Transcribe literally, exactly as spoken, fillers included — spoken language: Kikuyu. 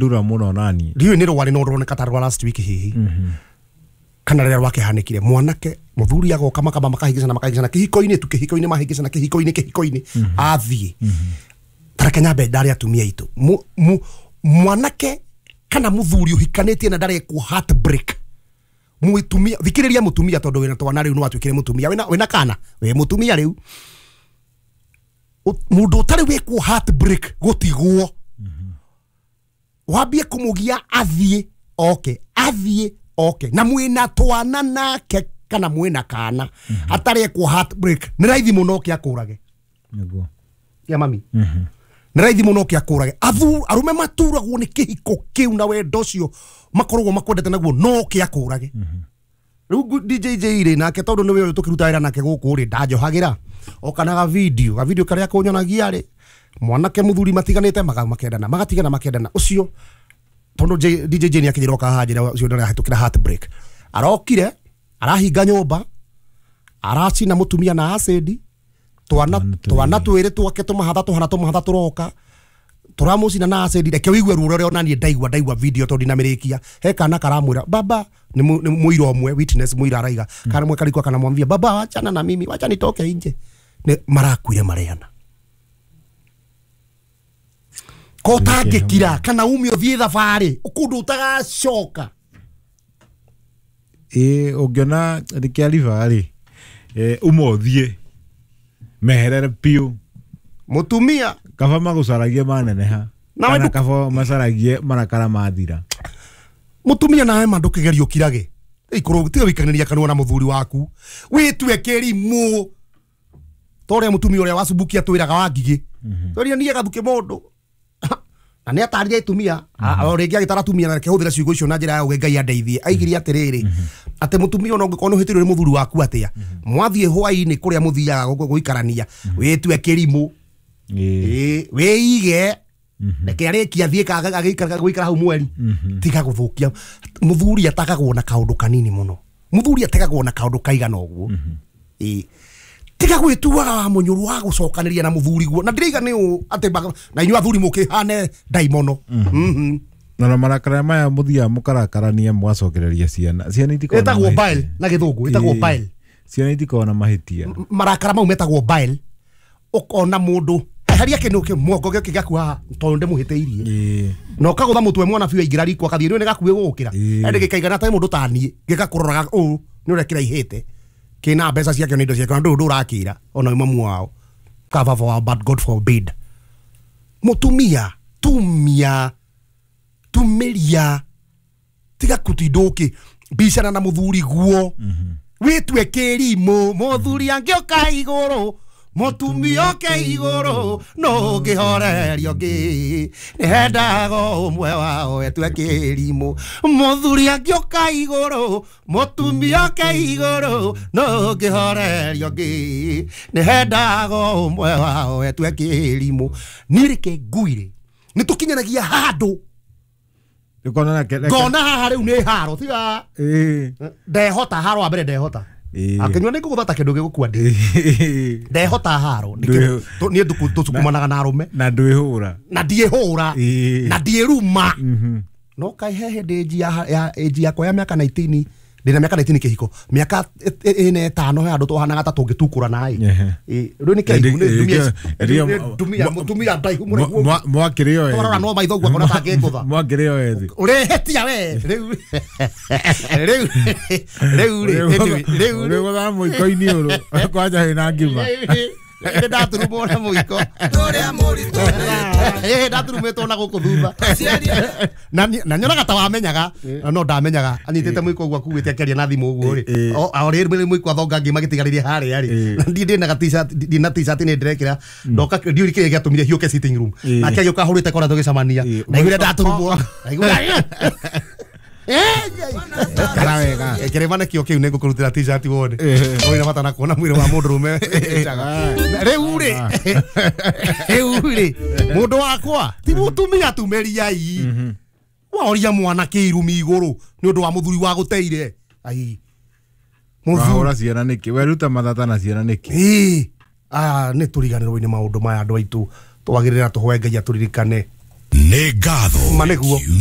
Ndura muno nani. Ndiũĩ nĩ rwarĩ no rũroneka ta rwa last week hihi. Kana rĩrĩa rwakĩhanĩkire mwanake mũthuri agoka makamba makahĩngĩcana makahĩngĩcana kĩhiko-inĩ tu kĩhiko-inĩ mahĩngĩcana kĩhiko-inĩ kĩhiko-inĩ athiĩ. Tareke nyambe ndare atumia aitũ. Mwanake kana mũthuri ũhikanĩtie na ndarekwo heartbreak. Mũtumia thikĩrĩria mũtumia tondũ wĩna twana rĩu nĩ watuĩkire mũtumia wĩna wĩna kana wĩ mũtumia rĩu. Mũndũ ũtarĩ wĩkwo heartbreak gũtigwo. Wambie kũmũgia athiĩ oke athiĩ oke na mwĩna twana nake kana mwĩna kana atarekwo heartbreak nĩ raithi mũno oke akũrage. Nĩguo. Ya mami. Nĩ raithi mũno oke akũrage. Athu arume maturagwo nĩ kĩhiko kĩu na wendo ũcio makoragwo makwendete naguo no oke akũrage. Rĩu D J J rĩ nake tondũ nĩwe ũyũ tũkĩruta wĩra nake gũkũ rĩ ndanjohagĩra okanaga video ga video karĩa kũnyonagia rĩ mwanake mũthuri matiganĩte makendana magatigana makendana ũcio tondũ D J J nĩ akĩnjĩra oka haha njĩra ũcio ndarahĩtũkĩra heartbreak arokire arahinga nyũmba aracina mũtumia na acid twana twana twĩrĩ twake tũmahatha tũhana tũmahatha tũroka tũramũcina na acid reke ũigue ruo rũrĩa onaniĩ ndaigua ndaigua video tondũ ndinamĩrĩkia he kana karamwĩra baba nĩ mũira ũmwe witness mũira araiga kana mwe karikwa kana mwambia baba wachana na mimi wacha nitoke nje nĩ marakuire mareana ko tangĩkira kana ume ũthiĩ thabarĩ kũndũ ũtagacoka. Ĩ ũngĩona rĩkĩariba rĩ uma ũthiĩ meherere biũ mũtumia kaba magũcaragie maneneha kana kaba macaragie marakara mathira. Mũtumia nawe ma ndũkĩgerie ũkirage ikorwo tiga wĩikanĩria kanua na mũthuri waku wĩtue kĩrimũ ta ũrĩa mũtumia ũrĩa wacumbukia twĩraga wa ngigĩ tũrĩa niĩ gathuke mũndũ na nĩ atarire atumia o rĩngĩ agĩtara atumia na reke hũthĩre ciugo icio na njĩra ya ũgĩ Ngai andeithie aigire atĩrĩrĩ atĩ mũtumia ona ũngĩkorwo nĩ ũhĩtĩirio nĩ mũthuri waku atĩa mwathiĩ hwaĩ-inĩ kũrĩa mũthiaga gũikarania wĩtue kĩrimũ wĩige reke arĩkia athiĩ agĩikara gũikara hau mweri tiga gũthũkia mũthuri atakagwo na kaũndũ kanini mũno mũthuri ategagwo na kaũndũ kaigana ũguo tiga gwĩtuaga wa mũnyũrũ wa gũcokanĩria na mũthuri guo na ndĩraiga nĩ ũũ atĩ na inyuĩ athuri mũkĩhane ndaimono. Na marakara maya mũthiaga mũkarakarania mũgacokereria ciana ciana itikoragwo ĩtagwo bile na gĩthũngũ ĩtagwo bile ciana itikoragwo na mahĩtia marakara mau metagwo bile ũkona mũndũ eheria kĩndũ kĩ mwongo gĩũke gĩaku haha tondũ ndĩmũhĩtĩirie na ũkagũtha mũtwe mwana biũ aingĩra riko akathiĩ nĩ gakuhĩ gũgũkĩra ĩndĩ gĩkaigana ta mũndũ ta niĩ gĩgakũroraga ũũ nĩ ũrĩa kĩraihĩte kĩna mbeca ciake na indo ciake na ndũrĩ ũndũ ũrakĩra ona mamu wao cover for but God forbid. Mũtumia tumia tumĩria tiga kũtinda ũkĩ bicana na mũthuri guo wĩtue kĩrimũ mũthuri angĩũka igũrũ mũtumia oke igũrũ no ngĩhorerio ngĩ nĩhendaga ũmwe wao etue kĩrimũ mũthuri angĩũka igũrũ mũtumia oke igũrũ no ngĩhorerio ngĩ nĩhendaga ũmwe wao etue kĩrimũ. Niĩ reke nguire nĩ tũkinyanagia handũ ngona haha rĩu nĩ haro tiga ndehota haro wa mbere ndehota akinyua nĩ ngũgũtha ta kĩndũ gĩgũkua ndĩ ndehota haro niĩ tũcukumanaga na arũme na ndwĩhũra na ndiĩhũra na ndiĩruma no kaĩ he hĩndĩ ĩnji yakwa ya mĩaka nineteen ndĩna mĩaka nineteen kĩhiko mĩaka ĩna ĩtano he handũ twahanaga ta tũngĩtukũrana ĩ rĩu nĩ kĩraihu nĩ ndumia mũtumia ndaihu mũraihu mwakĩrĩ o twarora no maitho ũguo akona ta angĩngũtha mwakĩrĩ o ethĩ ũrĩhĩtia we rĩu rĩu rĩu rĩ rĩu ũrĩgũthaga mũiko-inĩ ũrũ kwanja wĩna ngima nĩ ndaturumwo na mũiko ndaturumĩtwo na gũkũ thutha na nyonaga ta wamenyaga no ndamenyaga anyitĩte mũiko ũguo akuĩte akĩaria na thimũ ũguo rĩ o rĩrĩ mũiko athonga ngima gĩtigarĩrie harĩa rĩ na ndiĩ ndĩna ga-t-shirt ndina t-shirt nĩ ndĩrekĩra ndoka ndiũĩ kĩrĩa gĩatũmire hiũke sitting room nake agĩũka ahũrĩte kora tũgĩcemania ndaiguire ndaturumwo ndaiguire Kara wega kĩrĩma nĩkĩo kĩu nĩngũkũrutĩra t-shirt wone ũrĩ na bata na kuona mwĩrĩ wa mũndũrũme rĩu rĩ rĩu rĩ mũndũ wakwa ti mũtumia tumĩriai waoria mwanake irumi igũrũ nĩ ũndũ wa mũthuri wa gũteire ai wahũra ciana nĩkĩ weruta mathata na ciana nĩkĩ ĩĩ ah nĩ tũriganĩrwo nĩ maũndũ maya andũ aitũ twagĩrĩra tũhoe Ngai atũririkane. Nĩ ngatho. Ma nĩguo.